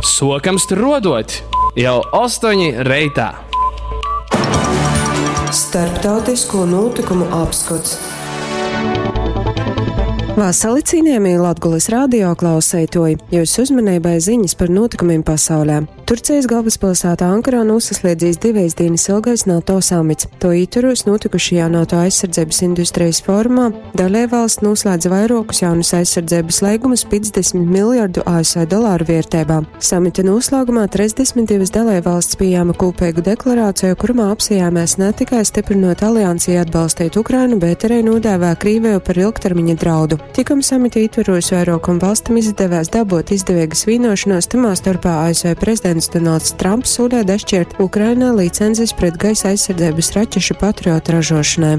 Suokam struoduot jau 8 reitā! Starptautisko nūtykumu apskots. Vasali, cienījamie Latgulas radio klauseitoji! Jūsu uzmanībai ziņas par notikumiem pasaulē. Turcijas galvaspilsētā Ankarā nosaslēdzīs divēs dienas ilgais NATO samits. To ietvaros notikušajā NATO aizsardzības industrijas forumā dalībvalsts noslēdza vairākus jaunus aizsardzības līgumus 50 miljardu ASV dolāru vērtībā. Samita noslēgumā 32 dalībvalsts pieņēma kopīgu deklarāciju, kurumā apsijāmēs ne tikai stiprinot aliansi atbalstīt Ukrainu, bet arī nodēvē Krīviju par ilgtermiņa draudu. Tikam samita ietvaros vairākam valstim izdevās dabūt izdevīgas vienošanos, tamā starpā ASV prezidents Donalds Trumps solīja dašķirt Ukrainai licences pret gaisa aizsardzības raķešu Patriot ražošanai.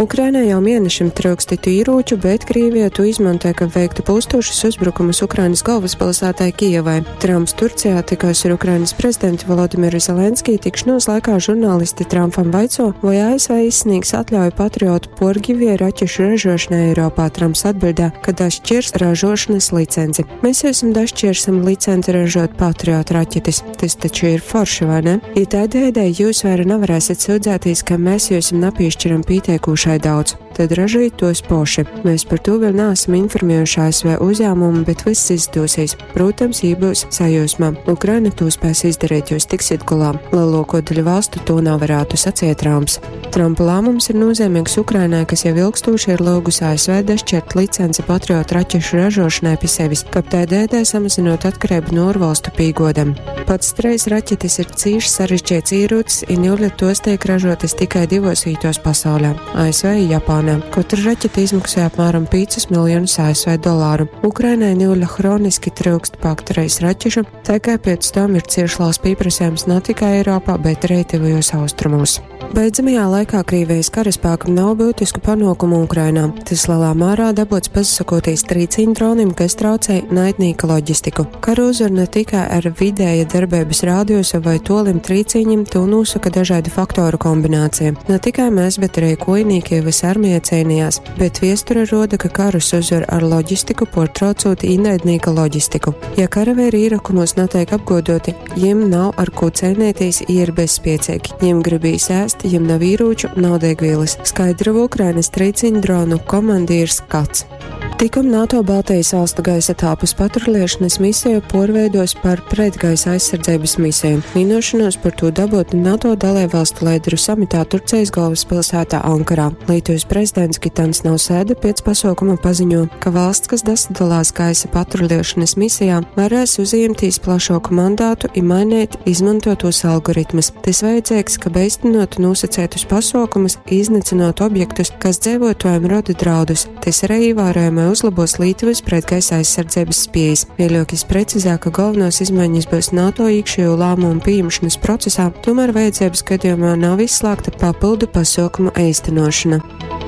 Ukrainai jau mēnešiem trūkst citu ieroču, bet Krievija to izmantoja, ka veiktu pūstošus uzbrukumus Ukrainas galvaspilsētai Kijevai. Trumps Turcijā tikās ar Ukrainas prezidentu Volodimiru Zelenskiju tikšanos laikā žurnālisti Trumpam vaico, vai ASV izsniegs atļauju Patriotu porgivie raķešu ražošanai Eiropā. Trumps atbildē, ka dašķirs ražošanas licenci. Mēs esam dašķirsim licenci ražot Patriot raķetes. Tas taču ir forši, vai ne? Ja tādējādi jūs vairs nevarēsiet sūdzēties, ka mēs jūs nepiešķiram pietiekušai daudz, tad ražojiet tos poši. Mēs par to vēl neesam informējuši ASV uzņēmumu, bet viss izdosies. Protams, ja būs sajūsmā. Ukraina to spēs izdarīt, jūs tiksiet galā. Lielāko daļu valstu to nav varētu sacīt Trumps. Trumpa lēmums ir nozīmīgs Ukrainai, kas jau ilgstoši ir lūgusi ASV dašķirt licenci Patriot raķešu ražošanai pie sevis, kap tādējādi samazinot atkarību no ārvalstu pīgodam. Pats treis raķetes ir cīši sarežģīts ierocis, un jūļa tos tiek ražotas tikai divos vītos pasaulē - ASV un Japānā. Katra raķete izmaksāja apmēram 5 miljonus ASV dolāru. Ukrainai jūļa hroniski trūkst paktereis raķešu, tā kā pēc tam ir cieši liels pieprasījums ne tikai Eiropā, bet arī tuvajos austrumos. Beidzamajā laikā Krievijas karaspēkam nav būtisku panākumu Ukrainā. Tas lielā mērā dabūts pasakoties trīciņu dronim, kas traucē naidnīka loģistiku. Karu uzvar ne tikai ar vidēja darbības rādiosa vai tolim trīciņim, to nosaka dažādu faktoru kombinācija. Ne tikai mēs, bet arī kojnīki vis armija cīnījās, bet viesture roda, ka karus uzvar ar loģistiku, portraucot ienaidnīka loģistiku. Ja karavīri ierakumos netiek apgodoti, jiem nav ar ko cīnīties, ir bezspiecīgi. Jiem gribīs ēst, jiem nav ieroču, nav degvielas, skaidro Ukrainas trīciņu dronu komandieris Kats. Tikom NATO Baltijas valstu gaisa telpas patrulēšanas misiju porveidos par pretgaisa aizsardzības misiju. Vienošanos par to dabūt NATO dalībvalstu lēderu samitā Turcijas galvaspilsētā Ankarā. Lietuvas prezidents Gitans Nausēda pēc pasaukuma paziņo, ka valsts, kas dasadalās gaisa patrulēšanas misijā, varēs uzņemties plašāku mandātu un mainīt izmantotos algoritmus. Tas vajadzīgs, ka beistinotu nosacētus pasaukumus, iznīcinot objektus, kas dzīvotājiem rada draudus. Tas arī ievērojami uzlabos Lietuvas pretgaisa aizsardzības spējas. Vēļokis precizē, ka galvenās izmaiņas būs NATO iekšējo lēmumu pieņemšanas procesā, tomēr vajadzības gadījumā nav izslēgta papildu pasaukumu īstenošana.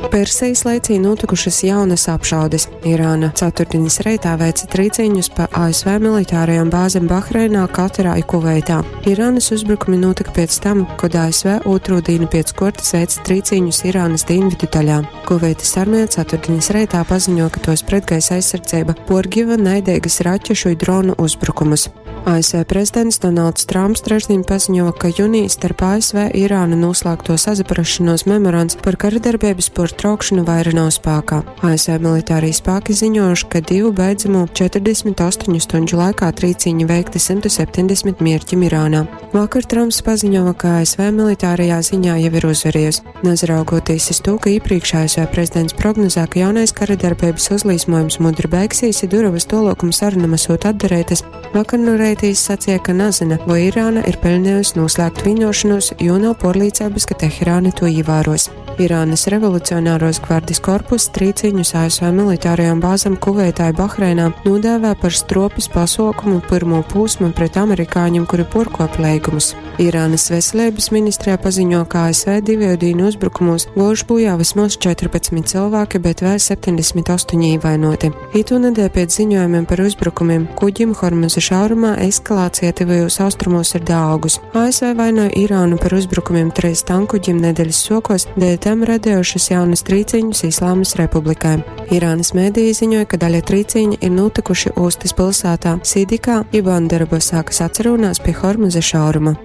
Persijas laicī notikušas jaunas apšaudes. Irāna ceturtdienas reitā veica trīciņus pa ASV militārajām bāzēm Bahreinā, Katarā un Kuveitā. Irānas uzbrukumi notika pēc tam, kad ASV otro dienu pēc kortes veica trīciņus Irānas dienvidu daļā. Kuveitas armija ceturtdienas reitā paziņo, ka tos pretgaisa aizsardzība porgiva naidīgas raķešu un dronu uzbrukumus. ASV prezidents Donalds Trumps trešdien paziņo, ka jūnijā starp ASV Irānu noslēgto sazaprašanos memorands par karadarbības portraukšanu vaira nav spēkā. ASV militārie spēki ziņojuši, ka divu beidzamo 48 stundu laikā trīciņi veikti 170 mierķim Irānā. Vakar Trumps paziņoja, ka ASV militārajā ziņā jau ir uzvarējusi. Nezraugoties uz to, ka iepriekš ASV prezidents prognozē, ka jaunais karadarbības uzlīsmojums mudri beigsies, ja durovas tolokuma sarunam esot atdarētas, vakar no reitīs sacīja, ka nezina, vai Irāna ir pelnījusi noslēgt vienošanos, jo nav porlīdzības, ka Teherāna to ievēros. Irānas revolucionāros gvardis korpus trīciņus ASV militārajām bāzēm Kuveitā un Bahreinā nodēvē par stropes pasaukumu pirmo posmu pret amerikāņiem, kuri porkopa līgumus. Irānas veselības ministrijā paziņo, ka ASV divu dienu uzbrukumos guojuši bojā vismaz 14 cilvēki, bet vēl 78 ievainoti. Itūnedēļ pēc ziņojumiem par uzbrukumiem kuģim Hormuza šaurumā eskalācija tuvajos austrumos ir daaugus. ASV vainoja Irānu par uzbrukumiem treis tankuģim nedēļas sokos, dēļ tam radējušas jaunas trīciņus Islāmas republikai. Irānas mēdīji ziņoja, ka daļa trīciņa ir notikuši ostas pilsētā Sidikā, Ibandarabosā, kas atcerunās pie Hormuza šauruma.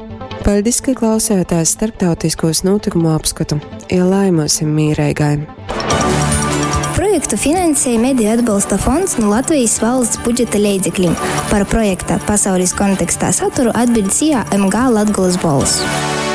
Paldies, ka klausījāties starptautiskos notikumu apskatu. Ielaimosim mīreigai! Projektu finansēja Mediju atbalsta fonds no Latvijas valsts budžeta leidzekļiem. Par projekta pasaules kontekstā saturu atbild SIA MG Latgolas bols.